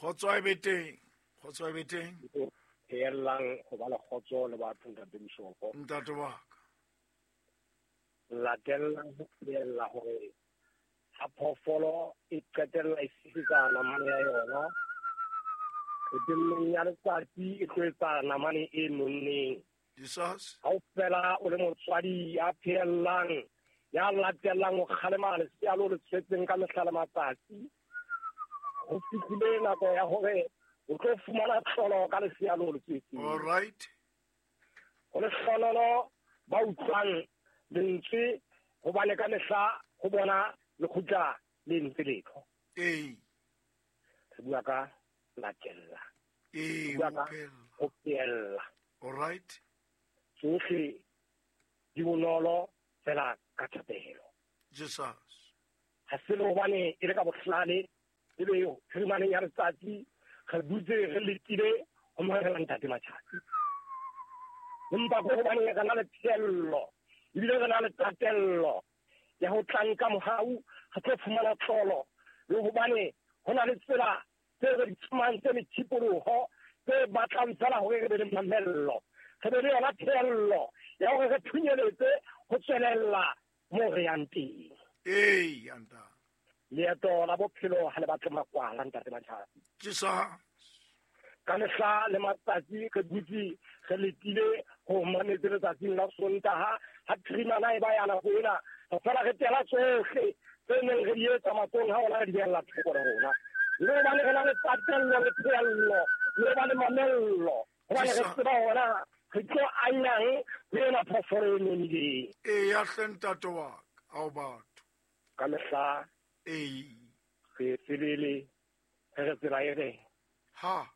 Kgotso a e be teng, kgotso a e be teng. Pheellang go ba le kgotso le batho, ntate Bishopo. Ntate wa ka. Latellang ho pheella hore ha phoofolo e qetella e fihlisa namane ya yona, qetellong ya letsatsi e tlo etsa namane e nonneng. Jesus. Ha o fela o le motswadi ya pheellang, ya latellang ho kgalema lesea leo le tswetseng ka mehla le matsatsi, ho fihlile nako ya hore o tlo fumana tlholo ka lesea leo le tswetseng. All right. Ho lehlohonolo ba utlwang lentswe, hobane ka mehla ho bona le kgutla le entse letho. Ee. Re bua ka latella. Ee, Re bua ka ho phela. ho phella. All right. Tsohle di bonolo fela ka thapelo. Jesus. Ha se le hobane e le ka bohlale, e be phirimaneng ya letsatsi re dutse re letile ho mamela ntate Matjhasi. Empa ke hobane re na le pheello, ebile re na le tatello ya ho tla nka mohau, re tlo fumana tlolo, le hobane ho na le tsela tse re di tsamang tse methipoloho, tse batlang fela hore re be le mamello, re be le yona pheello ya hore re phunyeletse ho tswelella mo re yang teng. Ee, ya ntate. Leeto la bophelo ha le batle makwala, ntate Matjhasi. Jesus. Ka mehla le matsatsi re dutse re letile ho mametse letsatsing la Sontaha, ha phirimana e ba ya nako ena, re fela re tela tsohle tse neng re di etsa matsong ha ona re di behella thoko le rona. Le hobane re na le tatello le pheello, le hobane mamello, hobane re Jesus. tseba hona re tlo anyang ho ena phoofolo e nonileng. Ee, ya hle ntate wa ka, ao batho. Ka mehla Ee. re tsebele, re re tsela e re. Ha.